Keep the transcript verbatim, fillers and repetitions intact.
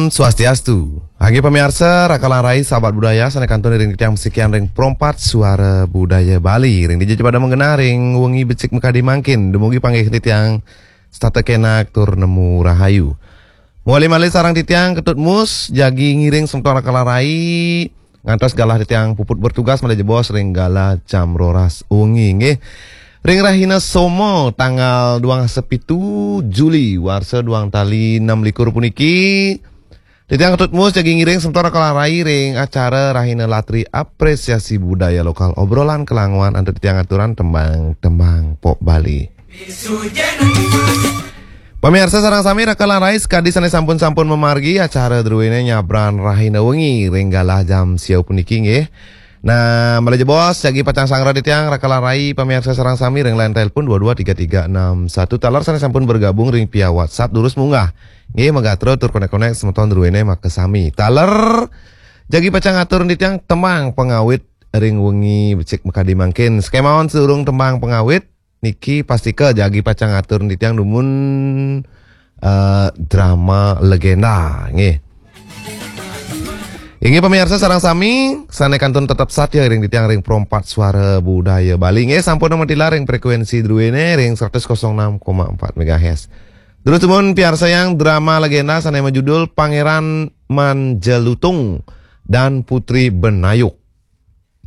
Swastiastu. Inggih pamiarsa, raka lan rai sahabat budaya sané kantun ring titiang masikian ring Pro empat Suara Budaya Bali. Ring dija pada magenah ring wengi becik makadi mangkin. Dumugi panggih titiang setata kenak tur nemu rahayu. Malih-malih sareng titiang Ketut Mus, jagi ngiring semeton raka lan rai ngantos galah titiang puput bertugas malih jebos ring galah jam roras wengi nggih. Ring rahina Soma tanggal duang dasa pitu Juli warsa duang tali enam likur puniki, titiang Ketut Mus jagi ngiring semeton raka lan rai ring acara Rahina Latri Apresiasi Budaya Lokal, obrolan kelanguan antuk titiang aturan tembang-tembang pop Bali. Pamiarsa sareng sami, raka lan rai sakadi sané sampun-sampun mamargi acara druéné nyabran rahina wengi ring galah jam siau puniki nggih. Nah, malih jebos jagi pacang sanggra titiang raka lan rai pamiarsa sareng sami ring line telepon dua dua tiga tiga enam satu, taler sané sampun bergabung ring via WhatsApp durus munggah. Nggih, magatra tur konek-konek semeton druéné makasami. Taler jagi pacang atur titiang tembang pangawit ring wengi becik makadi mangkin. Sakémaon sadurung tembang pangawit, niki pastika jagi pacang atur titiang dumun eh, drama legenda nggih. Inggih pamiarsa sareng sami, sané kantun tetep satia ring titiang ring Pro empat Suara Budaya Bali nggih, sampun matilar ring frekuensi druéné ring seratus kosong enam koma empat megahertz. Terus dumun piarsayang drama legenda sané majudul Pangeran Manjelutung dan Putri Benayuk.